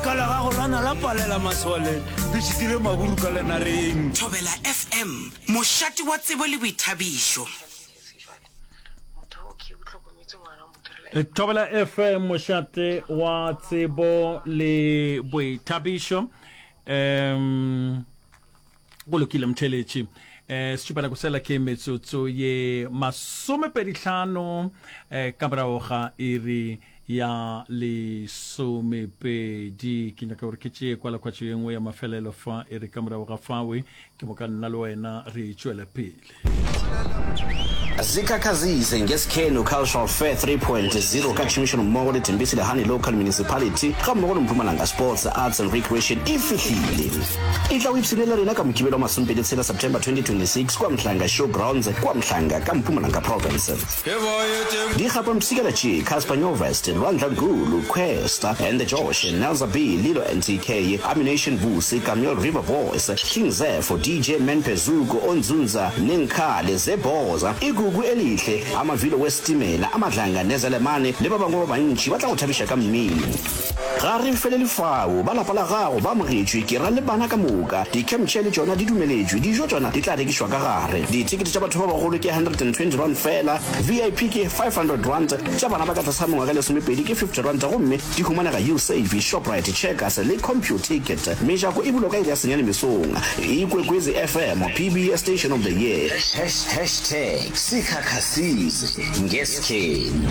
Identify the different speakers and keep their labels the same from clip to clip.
Speaker 1: Lešaka la gago la na la palela masole, le šitile maburu ka lenareng.
Speaker 2: Thobela FM, mošate wa tsebo le boithabišo.
Speaker 3: Thobela FM, mošate wa tsebo le boithabišo. Um Go lokile motheeletši. Eh, setšupana kosela ke metsotso ye masomepedihlano eh, ka morago ga iri ya lesomepedi. Ke nyaka gore ke tšee kwalakwatšo ye nngwe ya mafelelo fa e re ka morago ga fawe ke moka nna le wena re tšwele pele.
Speaker 4: Zikhakhazise ngeSkhenu Cultural Fair 3.0 ka tšhomišanommogo le Thembisile Hani Local Municipality gammogo le Mpumalanga Sports, Arts and Recreation e fihlile. Etla o ipshine le rena ka Mokibelo wa masomepedi tshela September 2026 kua Mhlanga Show Grounds kua Mhlanga ka Mpumalanga Province. Dikgapampshikela tše, Cassper Nyovest, Lwandla Gulu, Kwesta and the Josh, Nelza B, Lilo NTK, Ammunition Vusi, Kameel River Boys, King Zefo, DJ Menpe Zuko, Onzunza, Nenkhale, Zebhoza, Igugu Elihle, Amavilo Wesitimela, Amadlanga Nezelemane le ba bangwe ba bantši ba tla go thabiša ka mmino. Ga re felele fao, ba lapa la gago ba amogetšwe, ke ra le bana ka moka. Di-camp chair le tšona di dumeletšwe, dijo tšona di tla rekišwa ka gare. Dithekete tša batho ba bagolo ke R120 feela, VIP ke R500, tša bana ba ka tlase ga mengwaga e lesomepedi ke R50 gomme di humanega Usave, Shoprite, Checkers le Computicket. Mejako e bulwa ka iri ya senyane mesong. Ikwekwezi FM, PBS Station of the Year.
Speaker 5: Hashtag Sikhakhasize ngeskhenu.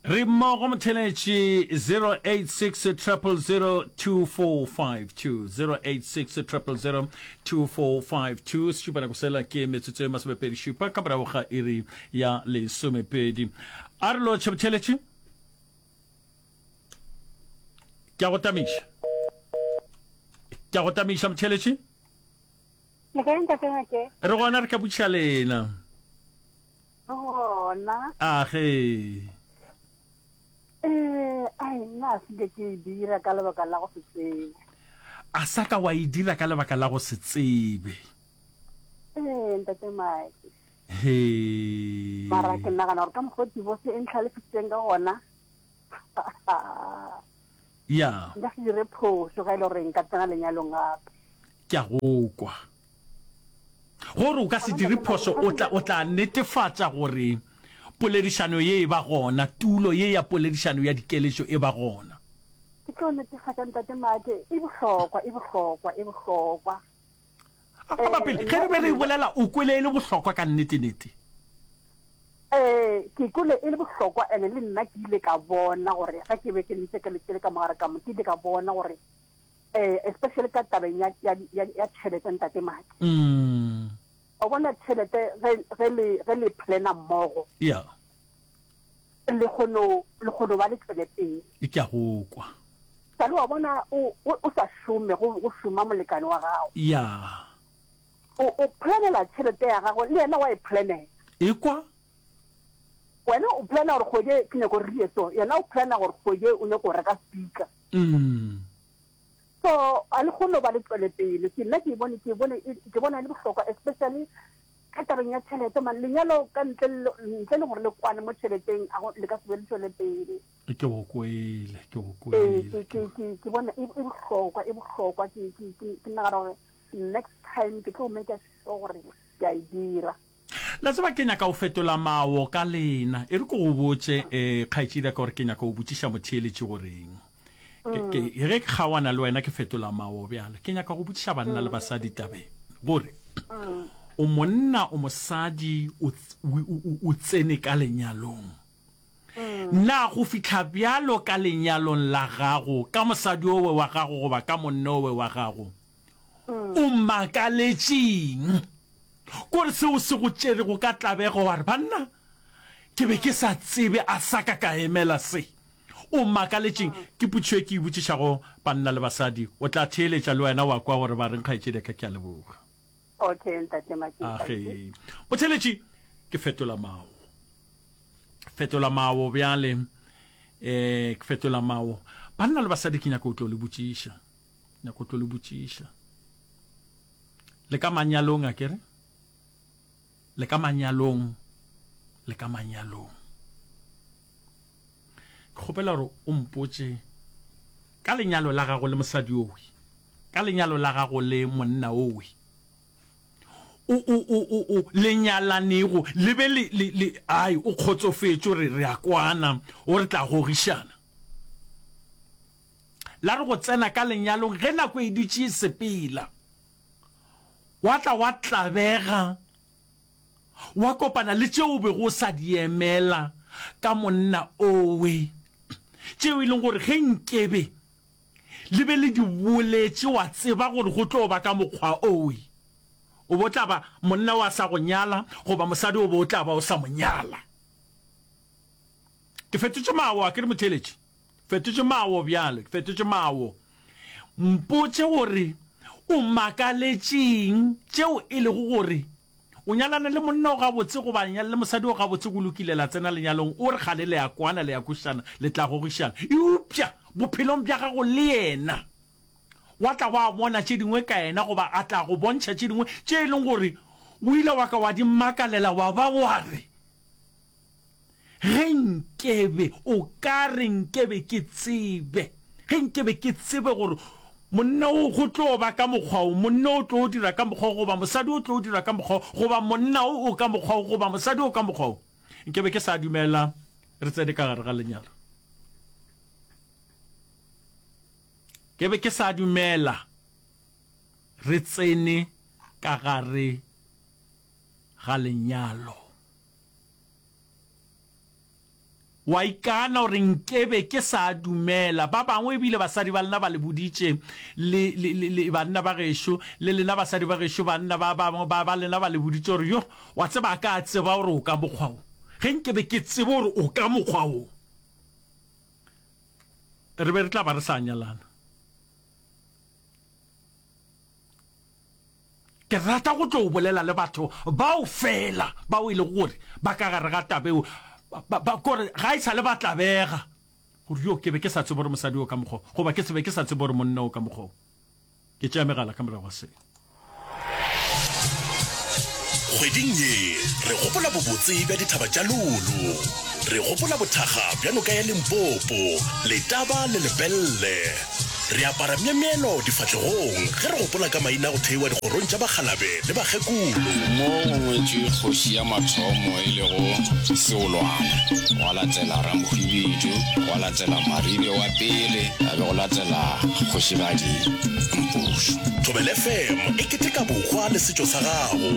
Speaker 3: Re mmogo motheletši 086 000 2452 086 000 2452 sešupa nako sela ke metsotso e masomepedi šupa ka morago ga iri ya lesomepedi a re lotšhe motheletši ke a go tamiša ke a go tamiša motheletši
Speaker 6: Le kae ntate Ngake?
Speaker 3: Re gona re ka botšiša lena.
Speaker 6: Re gona.
Speaker 3: A ge.
Speaker 6: Eh, ai nna a se ke e dira ka lebaka la go se tsebe.
Speaker 3: A sa ka wa e dira ka lebaka la go se tsebe.
Speaker 6: Eh, ntate Mike.
Speaker 3: He.
Speaker 6: Mara ke nagana gore ka mokgwa divorce e ntlhalefisitseng ka gona.
Speaker 3: Ya.
Speaker 6: Nka se dire phošo ga e le gore nka tsena lenyalong gape.
Speaker 3: Ke a go kwa. Gore o ka se dire phošo, o tla, o tla netefatša gore poledišano ye e ba gona, tulo ye ya poledišano ya dikeletšo e ba gona.
Speaker 6: Ke tlo netefatša, Ntate Maake, e bohlokwa, e bohlokwa, e bohlokwa.
Speaker 3: A ba pele, ge re be re e bolela, o kwele e le bohlokwa ka nnete-nete?
Speaker 6: Ee, ke kwele e le bohlokwa, and-e le nna ke ile ka bona gore ge ke be ke ntse ke le, ke le ka mo gare ka mo, ke ile ka bona gore eh, especially ka tabeng ya, ya, ya, ya tšhelete ntate Maki.
Speaker 3: Mm.
Speaker 6: O bona tšhelete ge, ge le, ge le plana mmogo.
Speaker 3: Yeah.
Speaker 6: Le kgono, le kgono ba le tšwele pele.
Speaker 3: Ke a go kwa.
Speaker 6: Sale wa bona o, o, o sa šome, go, go šoma molekane wa gago.
Speaker 3: Yeah.
Speaker 6: O, o planela tšhelete ya gago, le yena wa e planela.
Speaker 3: Ekwa.
Speaker 6: Wena o plana gore kgwedi e ke nyako re ye so, yena o plana gore kgwedi e o nyako go reka speaker.
Speaker 3: Mm.
Speaker 6: So a le kgone go ba le tšwele pele. Ke nna ke e bone, ke e bone, ke bona e le bohlokwa especially ka tabeng ya tšhelete man. Lenyalo ka ntle le, ntle le gore le kwane mo tšheleteng a go, le ka se be le tšwele pele.
Speaker 3: Ke go kwele, ke go
Speaker 6: Ee,
Speaker 3: kwele.
Speaker 6: ke, ke, ke, ke bona e, e bohlokwa, e bohlokwa. Ke, ke, ke, ke nagana gore next time ke tlo make sure gore ke a e dira.
Speaker 3: La tseba ke nyaka go fetola mawo ka lena. E re ke go botše, eh, kgaetšedi ya ka, gore ke nyaka go botšiša motheeletši goreng. Ke, ke, ge ke kgaoana le wena ke fetola mawo bjale. Ke nyaka go botšiša banna le basadi tabeng, gore o monna, o mosadi, o, o, o, o tsene ka lenyalong. Na go fihla bjalo ka lenyalong la gago, ka mosadi owe wa gago goba ka monna owe wa gago, o makaletšeng? Kore seo se go tšerego ka tlabego wa re, Banna, ke be ke sa tsebe, a sa ka ka emela se. O makaletšeng? Ke potšišo e ke e botšišago banna le basadi. O tla theeletša le wena wa kwa gore ba reng, kgaetšedi ya ka. Ke a leboga.
Speaker 6: Okay, ntate Maketa.
Speaker 3: Age. Motheeletši, ke fetola mao. Fetola mao bjale. Eh, ke fetola mao. Banna le basadi ke nyaka o tlo le botšiša. Nyaka o tlo le botšiša. Le ka manyalong a kere? Le ka manyalong, le ka manyalong. Ke kgopela gore o mpotše ka lenyalo la gago le mosadi owe, ka lenyalo la gago le monna owe, o, o, o, o, o le nyalanego, le be le, le, le, ai, o kgotsofetše, o re, re a kwana, o re tla gogišana. La re go tsena ka lenyalong ge nako e dutše e sepela, wa tla wa tlabega, wa kopana le tšeo o bego o sa di emela ka monna owe, tšeo e leng gore ge nkebe le be le di boletše wa tseba gore go tlo ba ka mokgwa owe, o bo tla ba monna wa sa go nyala goba mosadi o bo o tla ba o sa mo nyala. Ke fetotše mawo, a ke re motheeletši? Fetotše mawo bjale, ke fetotše mawo. Mpotše gore o makaletšeng tšeo e lego gore o nyalane le monna o gabotse goba nyale le mosadi o gabotse go lokile la tsena lenyalong o re kgale le a kwana le a kwešišana le tla gogišana eupša bophelong bja gago le yena wa tla wa bona tše dingwe ka yena goba a tla go bontšha tše dingwe tše e leng gore o ile wa ka wa di makalela wa ba wa re Ge nkebe, o ka re nkebe ke tsebe, ge nkebe ke tsebe gore monna o go tlo ba ka mokgwa o, monna o tlo dira ka mokgwa o, goba mosadi o tlo dira ka mokgwa o, goba monna o o ka mokgwa o, goba mosadi o ka mokgwa o, nkebe ke sa dumela re tsene ka gare ga lenyalo. Ke be ke sa dumela re tsene ka gare ga lenyalo. Wa ikana gore nkebe ke sa dumela. Ba bangwe ebile basadi ba lena ba le boditše, le, le, le, le banna ba gešo, le lena basadi ba gešo, banna ba bangwe ba, ba lena ba le boditše gore, Yo, wa tseba, a ka tseba gore o ka mokgwa wo. Ge nkebe ke tsebe gore o ka mokgwa wo, re be re tla ba re sa nyalana. Ke rata go tlo bolela le batho bao feela bao e lego gore ba ka gare ga taba eo, ba, ba, kore ga e sa le ba tlabega gore yo ke be ke sa tsebe gore mosadi o ka mokgwa wo, goba ke se be ke sa tsebe gore monna o ka mokgwa wo. Ke tšea megala ka morago ga se.
Speaker 7: Kgweding ye re gopola bobotse bja dithaba tša Lulu. Re gopola bothakga bja noka ya Limpopo, Letaba le Lepelle. Re apara myemyelo difahlegong ge re gopola ka maina a go theiwa dikgorong tša bakgalabe le bakgekolo.
Speaker 8: Mo go ngwetšwe kgoši ya mathomo e lego Seolwana, gwa latela Ramohwibidu, gwa latela Maribe wa pele, ya be go latela Kgošigadi Mpušo.
Speaker 7: Thobela FM e keteka bohwa le setšo sa gago.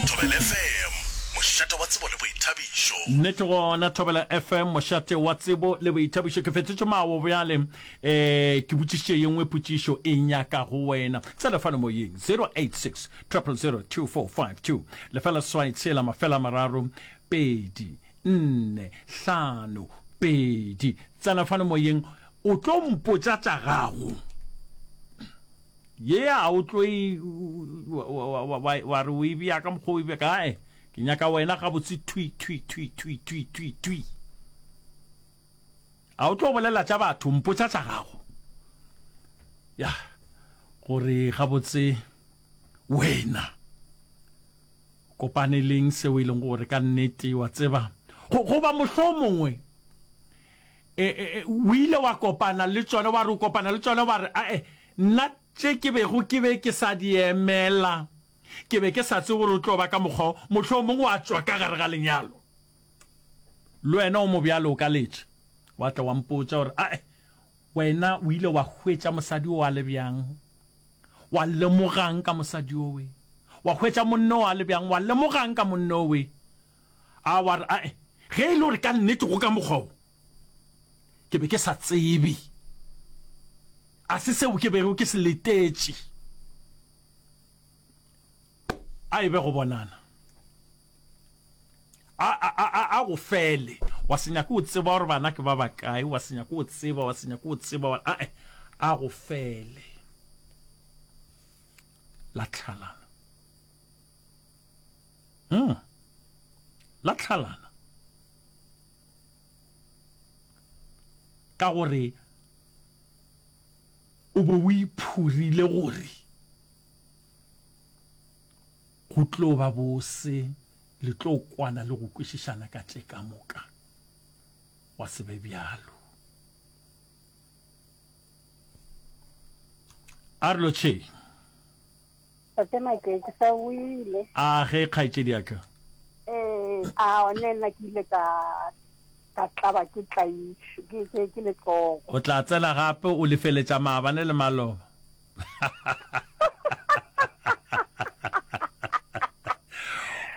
Speaker 7: Thobela FM, mošate wa tsebo le boithabišo.
Speaker 3: Nnete gona, Thobela FM, mošate wa tsebo le boithabišo. Ke fetotše mawo bjale. E, ke botšišitše ye nngwe potšišo e nyaka go wena. Tsena fano moyeng, 086 000 2452, lefela seswai tshela mafela mararo pedi nne hlano pedi. Tsena fano moyeng, o tlo mpotša tša gago. Ye a o tlo e, wa re o e bea ka mokgwa o e bea ka, ae, ke nyaka wena gabotse thwi, thwi, thwi, thwi, thwi, thwi, thwi. A o tlo bolela tša batho, mpotša tša gago. Ya, gore gabotse wena kopane leng seo e leng gore ka nnete wa tseba go goba mohlomongwe e, e, e, o ile wa kopana le tšona wa re o kopana le tšona wa re ae nna tše ke bego ke be ke sa di emela ke be ke sa tsebe gore o tlo ba ka mokgwa mohlomongwe wa tšwa ka gare ga lenyalo Le wena o mobjalo o ka letša wa tla wa mpotša gore ae wena o ile wa hwetša mosadi o a le bjang, wa lemogang ka mosadi owe, wa hwetša monna o a le bjang, wa lemogang ka monna owe. A wa re ae ge e le gore ka nnete go ka mokgwa wo ke be ke sa tsebe, a se seo ke bego ke se letetše, a e be go bonana. A, a, a, a, a go fele. Wa se nyake o tseba gore bana ke ba bakae, wa se nyake o tseba, wa se nyake o tseba, wa, a, a go fele. La tlhalana. Hmm. La tlhalana. Ka gore o bo o iphurile gore Go tlo ba bose, le tlo kwana le go kwešišana ka tše ka moka. Gwa se be bjalo. A re lotšheng.
Speaker 6: Tate Make, ke sa boile.
Speaker 3: A ge, kgaetšedi ya ka.
Speaker 6: Ee, a one nna ke ile ka ka tlaba ke tlaišo ke ke ke letsogo.
Speaker 3: O tla tsena gape o lefeletša maabane le maloba.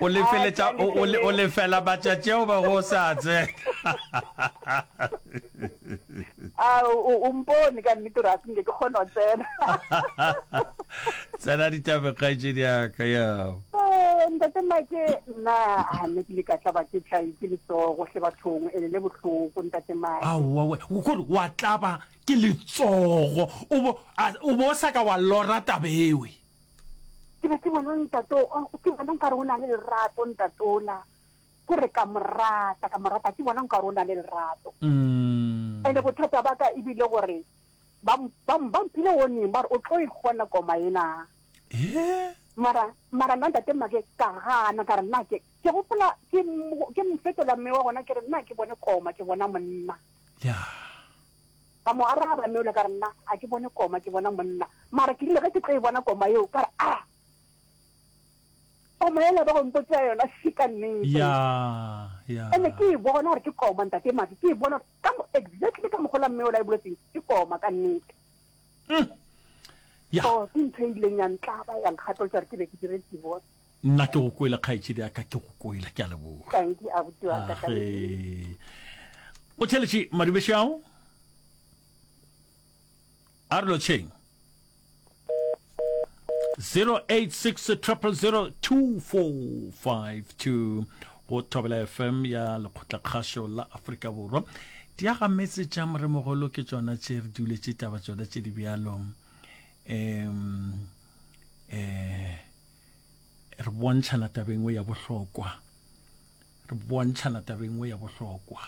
Speaker 3: O lefeletša o o o lefela matšatši ao ba go sa tsena.
Speaker 6: A o o mpone ka nnete gore a se nke ke kgone go tsena.
Speaker 3: Tsena ditabeng kgaetšedi ya ka ya.
Speaker 6: Eh, ntate Mike nna a ne ke le ka tlaba ke tlai ke letsogo hle bathong ene le bohloko ntate Mike.
Speaker 3: Aowa we, o kore wa tlaba ke letsogo o bo o bo sa ka wa lora taba ewe.
Speaker 6: Ke be ke bona ntate o ke bona nkare o na le lerato ntate ola. Ke re ka mo rata, ka mo rata, ke bona nkare o na le lerato. Ene bothata ba ka e bile gore ba, ba, ba mphile warning ba re o tlo e kgona koma ena. Mara, mara nna ntate Make ka gana ka re nna ke, ke gopola ke, ke mo fetola mme wa gona ke re nna ke bone koma ke bona monna. Ka mo araba mme ola ka re nna a ke bone koma ke bona monna. Mara ke rile ge ke tlo e bona koma eo ka re a. Koma yela ba go mpotša yona še ka nnete.
Speaker 3: Ya, ya.
Speaker 6: Ene ke e bona gore ke koma ntate Madi, ke e bona ka mo exactly ka mokgwa la mme ola e boletseng, ke koma ka nnete.
Speaker 3: Mm. Ya.
Speaker 6: So ke ntho e ileng ya ntlaba ya nkgatolotša gore ke be ke dire divorce.
Speaker 3: Nna ke go kwele kgaetšedi ya ka, ke go kwele, ke a leboga.
Speaker 6: Thank you abuti wa ka.
Speaker 3: Age. O theletše madubešao? A re lotšheng. 086 000 2452 go Thobela FM ya Lekgotlakgašo la Afrika Borwa. Diagametse tša moremogolo ke tšona tše re duletše taba tšona tše di bjalo. Um eh re bontšhana tabeng ya bohlokwa. Re bontšhana tabeng ya bohlokwa.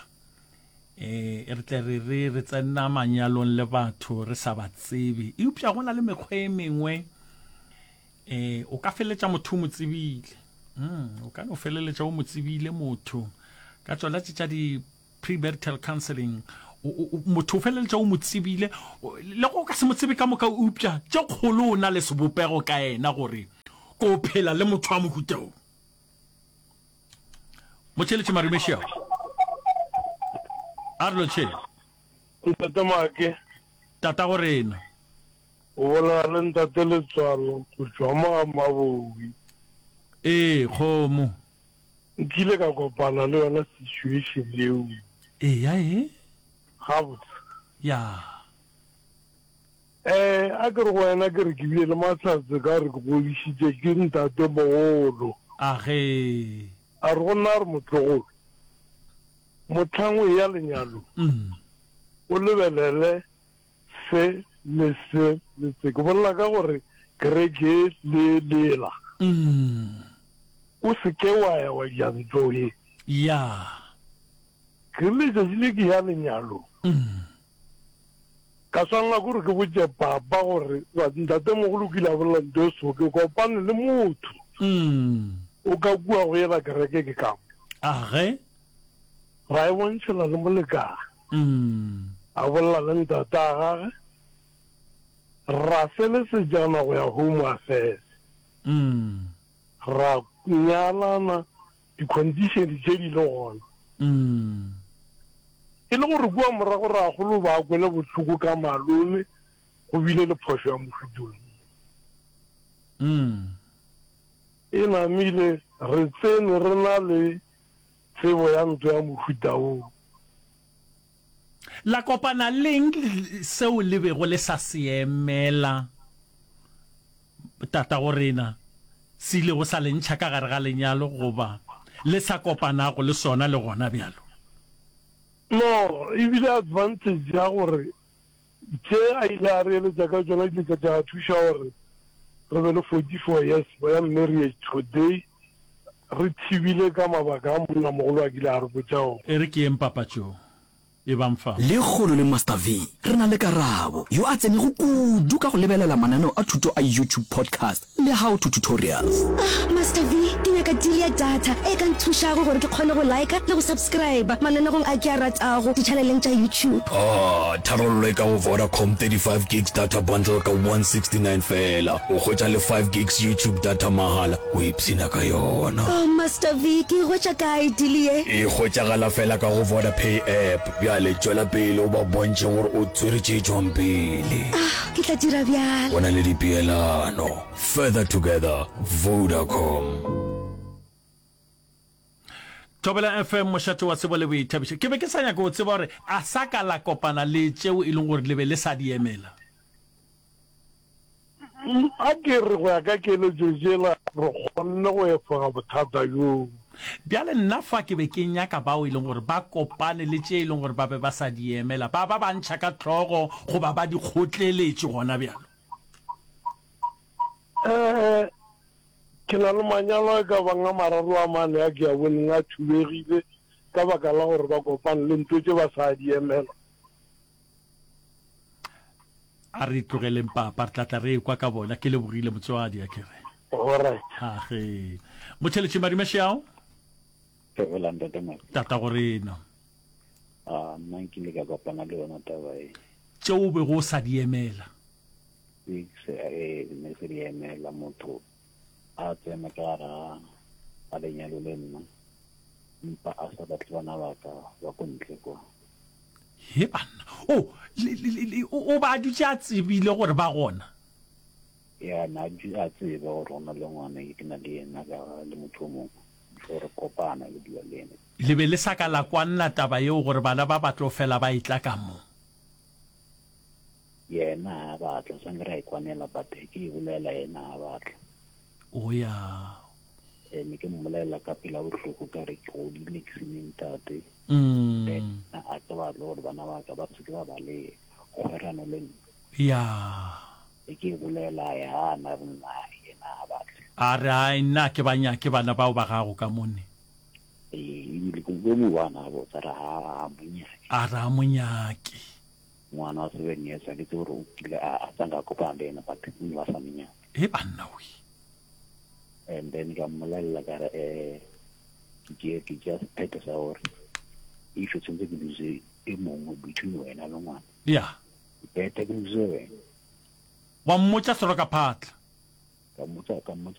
Speaker 3: E, re tle re re re tsena manyalong le batho re sa ba tsebe, eupša go na le mekgwa e mengwe e o ka feleletša motho o mo tsebile. Mm, o ka no feleletša o mo tsebile motho ka tšona tše tša di premarital counseling motho o feleletša o mo tsebile le go ka se mo tsebe ka moka eupša tše kgolo o na le sebopego ka yena gore ko phela le motho wa mohuta o. Motšheletše Marumešia. A re lotšheng.
Speaker 9: Ntate Make.
Speaker 3: Tata go rena.
Speaker 9: O bolela le ntate Letswalo go tšwa mo ga Mabowi.
Speaker 3: Ee, kgomo.
Speaker 9: Nkile ka kopana le yona situation yeo.
Speaker 3: Eya e.
Speaker 9: Gabotse.
Speaker 3: Ya.
Speaker 9: Eh, a ke re go wena ke re ke bile le mahlatse ka re ke godišitše ke ntatemogolo.
Speaker 3: A ge.
Speaker 9: A re go nna a re motlogolo, mohlang o eya lenyalong, o lebelele se le se le se. Ke bolela ka gore kereke le lela. O se ke wa ya wa ja ntlo ye.
Speaker 3: Ya.
Speaker 9: Ke rile letšatši le ke ya lenyalong. Ka swanela ke gore ke botše papa gore ntatemogolo o kile a bolela nto e so, ke kopane le motho o ka kua go yela kereke ke ka mo.
Speaker 3: Age.
Speaker 9: Ra e bontšhela le molekane. A bolela le ntate a gage, ra felesetšana go ya Home Affairs. Ra nyalana di-condition tše di le gona. E le gore kua morago rakgolo ba kwele bohloko ka malome go bile le phošo ya mohuta o mongwe. E namile re tsene re na le tsebo ya ntwa ya mohuta woo.
Speaker 3: La kopana leng seo le bego le sa se emela Tatagorena se ilego sa le ntšha ka gare ga lenyalo goba le sa kopanago le sona le gona bjalo?
Speaker 9: No, e bile advantage ya gore tše a ile a re eletša ka tšona di ile tša thuša gore re be le 44 years ya marriage today re thibile ka mabaka a monnamogolo a kile a re botša ona.
Speaker 3: E re ke yeng papatšong. Ebang fa.
Speaker 4: Lekgono le Master V re na le Karabo, yo a tsenego kudu ka go lebelela mananeo a thuto a YouTube podcast le how to tutorials.
Speaker 10: Ah, Master V, ke nyaka. nyaka deal ya data e ka nthušago gore ke kgone go liker le go subscriber mananegong a ke a ratago ditšhaneleng tša YouTube.
Speaker 11: Ah, tharollo e ka go Vodacom 35 gigs data bundle ka 169 feela. O hwetša le 5 gigs YouTube data mahala, o ipshina ka yona.
Speaker 10: Oh Master V, ke e hwetša kae deal ye?
Speaker 11: E hwetšagala feela ka go Vodapay app. Bjale tšwela pele o ba bontšhe gore o tswere tše tšwang pele.
Speaker 10: Ah, ke tla dira bjalo.
Speaker 11: Go na le dipeelano. Further together, Vodacom.
Speaker 3: Thobela FM, mošate wa tsebo le boithabišo. Ke be ke sa nyaka go tseba gore a sa ka la kopana le tšeo e leng gore le be le sa di emela.
Speaker 9: A ke re go ya ka keletšo tšela re kgonne go efoga bothata bjoo.
Speaker 3: Bjale nna fa ke be ke nyaka bao e leng gore ba kopane le tše e leng gore ba be ba sa di emela, ba ba ba ntšha ka hlogo goba ba di kgotleletše gona bjalo.
Speaker 9: Ee, ke na le manyalo a e ka bang a mararo a mane a ke a boneng a thubegile ka baka la gore ba kopane le ntho tše ba sa di emela.
Speaker 3: A re tlogeleng papa, re tla tla re ekwa ka bona. Ke lebogile motswadi, a ke re.
Speaker 9: Alright.
Speaker 3: Age. Motheletši Madimešiao.
Speaker 12: Thobela ntate Madi.
Speaker 3: Tata go rena.
Speaker 12: A nna nkile ka kopana le yona taba e.
Speaker 3: Tšeo o bego o sa di emela.
Speaker 12: Ke se e ne se di emela motho a tsena ka gara ga lenyalo le nna mpa a sa batle bana ba ka ba ko ntle kwa.
Speaker 3: He banna. O, le, le, le, o, o ba a dutše a tsebile gore ba gona?
Speaker 12: Ya, na a dutše a tseba gore go na le ngwana ke na le yena ka le motho o mongwe, before re kopana ke dula le yena.
Speaker 3: Le be le sa ka la kwanna taba yeo gore bana ba ba tlo fela ba etla ka mo?
Speaker 12: Yena ha a batla, sa nke ra e kwanela but ke e bolela yena ha a batla.
Speaker 3: O ya.
Speaker 12: Eh, ne ke mmolelela ka pela bohloko ka re ke godile ke sene ntate. Mm. A ke batle gore bana ba ka ba se ke ba ba le kgwerano le nna.
Speaker 3: Ya.
Speaker 12: E ke e bolela ya gana re nna yena a batle.
Speaker 3: A re ai nna ke ba nyake bana bao ba gago ka mone.
Speaker 12: Ee, ebile ke mo bana botsa re ha a mo nyake.
Speaker 3: A re a mo nyake.
Speaker 12: Ngwana wa 7 years a ke tsebe gore o kile a a tsanga a kopana le yena but o ne ba sa mo nyake.
Speaker 3: He banna we.
Speaker 12: And then ka mmolelela ka re eh ke tšea ke tšea sephetho sa gore if tshwanetse ke lose e mongwe between wena le ngwana.
Speaker 3: Yeah.
Speaker 12: Better ke lose wena.
Speaker 3: Wa mmotša selo ka phatla.
Speaker 12: Ka mmotsa ka mmotsa.